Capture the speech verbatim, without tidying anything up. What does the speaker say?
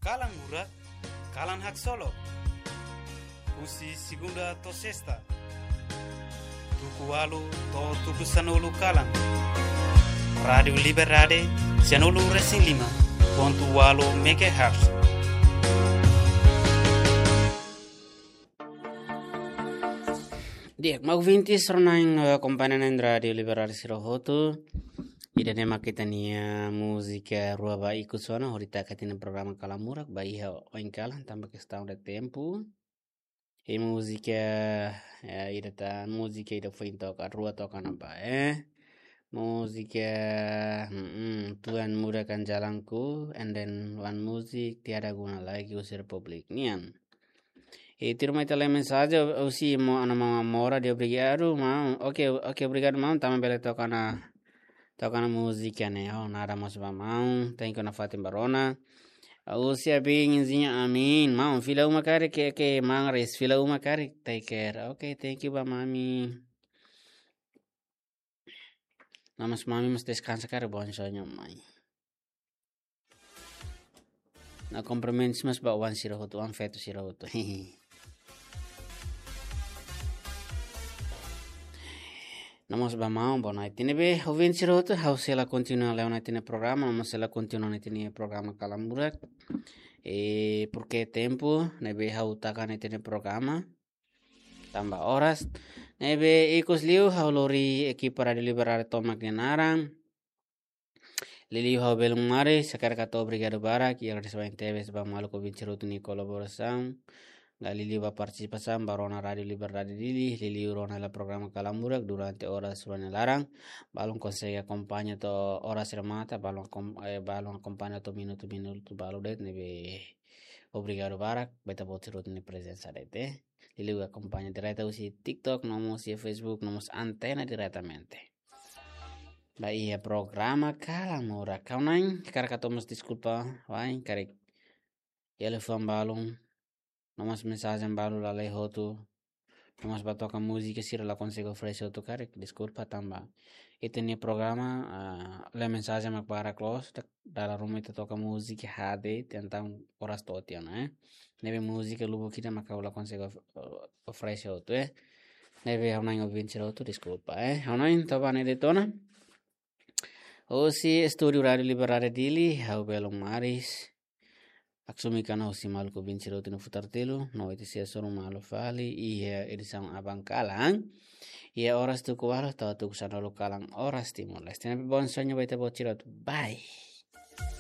Kalan Murak, kalan haksolok. Husi segunda to'o sesta, tuku ualu to'o tuku sanulu kalan. Rádiu Liberdade, sanulu resin lima pontu ualu megahertz. Di'ak, maluk ouvintes, rona-na'in, eh, kompañia na'in Rádiu Liberdade sira hotu. Ida-ne'e mak ita-nia múzika rua ba ikus ona, hodi taka ita-nia programa Kalan Murak, ba iha oin kalan, tanba kestaun de tempu. I múzika, eh, ida tan, múzika ida foin toka, rua toka ona ba, eh. Múzika, mm, Tuhan murahkan jalanku, and then one music, Tiada Guna Lagi, husi Republik nian. I tuirmai ita lee mensajen, husi maun Ana Mama Mora, dehan obrigadu, maun. Oke, oke, obrigadu, maun. Tanba bele toka ona, toka ona múzika ne'e. Oh, nada mós ba maun. Thank you nafatin ba rona. Husi Abin Inzinya Amin. Maun, fila uma karik, ke, ke, maun Res, fila uma karik. Take care. Oke, thank you ba mami. No mós mami mós deskansa karik, bom soño mai. No, cumprimentos mós ba oan sira hotu, oan feto sira hotu. No mós ba maun, boa noite. Ne'ebé, ouvinte sira hotu, ha'u sei la kontinua leo ona ita-nia programa, no mós sei la kontinua ona ita-nia programa Kalan Murak. E, porke tempu, ne'ebé ha'u taka ona ita-nia programa. Tanba oras. Ne'ebé ikus liu ha'u lori ekipa Rádiu Liberdade tomak nia naran. Liuliu ha'u belun maris, hakarak hato'o obrigadu barak, i agradese barak tebes ba maluk ouvinte sira hotu nia kolaborasaun. Liuliu ba partisipasaun, ba rona Rádiu Liberdade Dili, liuliu rona hela programa Kalan Murak durante oras rua nia laran. Balun konsege akompaña to'o oras remata, balun akom-, eh, balun akompaña to'o minutu-minutu balu de'it, ne'ebé obrigadu barak, ba ita-boot sira hotu nia prezensa de'it, eh. Liuliu akompaña direta husi TikTok, no mós husi Facebook, no mós antena diretamente. Ba iha programa Kalan Murak. Ha'u-nia, hakarak hato'o mós deskulpa, wa'in karik iha liafuan balun, no mós mensajen balu la lee hotu, no mós ba toka múzika sira la konsege oferese hotu karik, deskulpa tanba ita-nia programa, ah, lee mensajen mak barak loos, ita dala ruma ita toka múzika haat de'it, entaun oras to'o tiha ona, eh. Ne'ebé múzika lubuk ida mak ha'u la konsege of-, oferese hotu, eh. Ne'ebé ha'u-nia ouvinte sira hotu, deskulpa, eh. Ha'u-nia toba ne'e de'it ona. Husi estúdiu Rádiu Liberdade Dili, ha'u belun maris. Aksumi kana husi maluk ouvinte sira hotu nia futar telu, no ita sei hasoru malu fali iha edisaun aban kalan. Iha oras tuku ualu to'o tuku sanulu kalan oras Timor-Leste. Ne'ebé bom soño ba ita-boot sira hotu. Bye.